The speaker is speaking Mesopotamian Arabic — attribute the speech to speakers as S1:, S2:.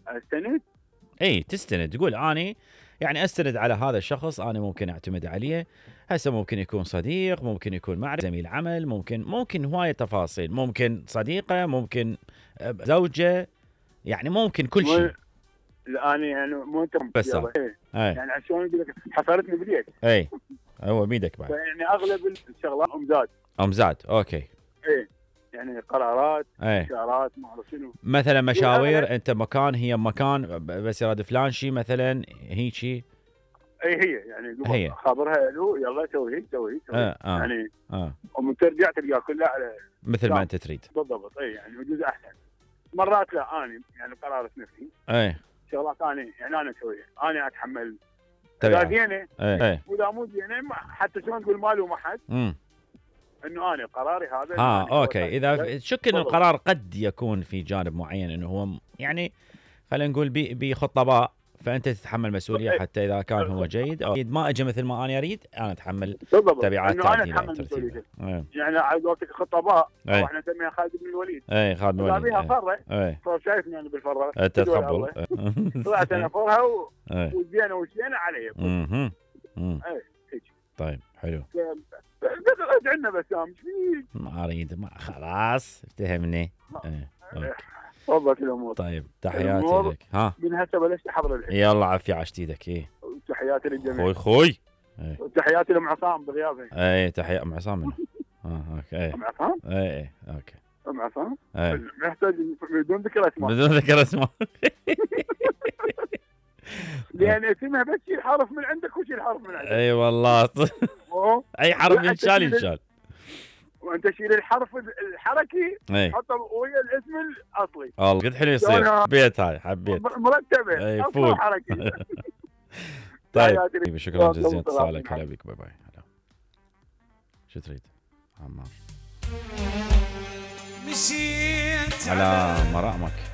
S1: استند؟
S2: اي تستند، تقول اني يعني استند على هذا الشخص، انا ممكن اعتمد عليه. هسه ممكن يكون صديق، ممكن يكون معرفة، زميل عمل، ممكن هواية تفاصيل، ممكن صديقة، ممكن زوجة، يعني ممكن كل شيء.
S1: لا انا يعني مو انت
S2: بس
S1: يعني شلون اقول لك، حصلتني باليد.
S2: اي هو بيدك بعد.
S1: يعني اغلب الشغلات
S2: امزاد اوكي.
S1: اي يعني قرارات، اشارات، ما اعرف شنو،
S2: مثلا مشاوير، انت مكان، هي مكان، بس يراد فلان شيء مثلا هيجي.
S1: اي هي يعني هي خابرها له يلا سوي هيك سوي يعني ومن ترجع تلقى كلها على
S2: مثل ما انت تريد
S1: بالضبط. اي يعني يجوز احسن مرات. لا اني يعني قرارة نفسي شغلات اني يعني انا اسويها، انا اتحمل اذا زينه واذا مو زينه حتى شلون تقول مالي وما حد، انه انا قراري هذا.
S2: اوكي. اذا شك ان القرار قد يكون في جانب معين انه هو يعني خلينا نقول بخطه باء، فانت تتحمل مسؤوليه حتى اذا كان هو جيد او ما اجى مثل ما انا اريد، انا اتحمل تبعات
S1: تعديله. يعني على قولتك خطه باء، او احنا نسميها خالد بن الوليد.
S2: خالد بن الوليد.
S1: بيها فره، فشايفني انا بالفره
S2: انت تقبل.
S1: طلعت انا فرها وزينه وشينه علي.
S2: طيب حلو.
S1: ادعي لنا بسام ايش فيك؟
S2: ما اريد، ما خلاص افتهمني.
S1: تفضل الامور.
S2: طيب تحياتي لك.
S1: من هسه بلشت احضر الحين.
S2: يلا عافيه عشت ايدك.
S1: تحياتي للجميع.
S2: خوي
S1: تحياتي لام عصام بغيابه.
S2: تحية ام عصام منه. اوكي.
S1: ام عصام؟
S2: اوكي.
S1: ام عصام؟ محتاج بدون ذكر اسماء.
S2: بدون ذكر اسماء.
S1: لان اسمها بس شيل حرف من عندك وشيل حرف من عندك.
S2: اي والله. اي حرف ينشال.
S1: وانت شيل الحرف الحركي حطه ويا الاسم الاصلي.
S2: والله قد حلو يصير. حبيت هاي، حبيت
S1: مرتبه اصلا حركي.
S2: طيب شكرا جزيلا اتصالك. هلا بك. باي باي. هلا. شو تريد عمار؟ مشيت على مرامك.